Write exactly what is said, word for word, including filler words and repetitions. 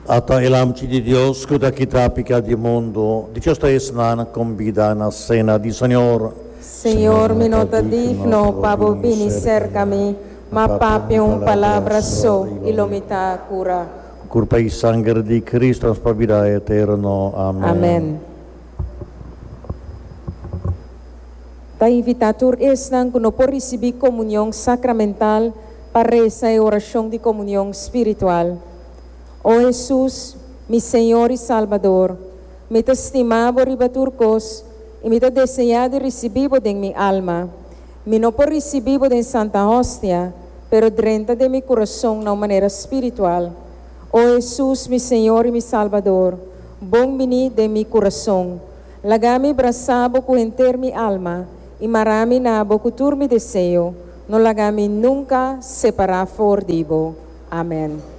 Ata e Lamchi di Dios ku ta kita piká di mundu. Dichoso ta esnan kombidá na sena di Señor. Señor, mi no ta digno pa bo bini serka mi, ma papia un palabra so i lo mi ta kurá. Kurpa i sanger di Kristu pa bida eterno. Amèn. Amèn. Ta invitá tur esnan ku no por risibí komunion sakramental pa resa e orashon di komunion spiritual. O Hesus, mi Señor i Salbador, mi ta stima bo riba tur kos i mi ta deseá di risibí bo den mi alma. Mi no por risibí bo den Santa Hostia, pero drenta den mi kurason na un manera spiritual. O Hesus, mi Señor i mi Salbador, bon bini den mi kurason. Laga mi brasa bo ku henter mi alma i mara mi na bo ku tur mi deseo. No laga mi nunka separá for di bo. Amèn.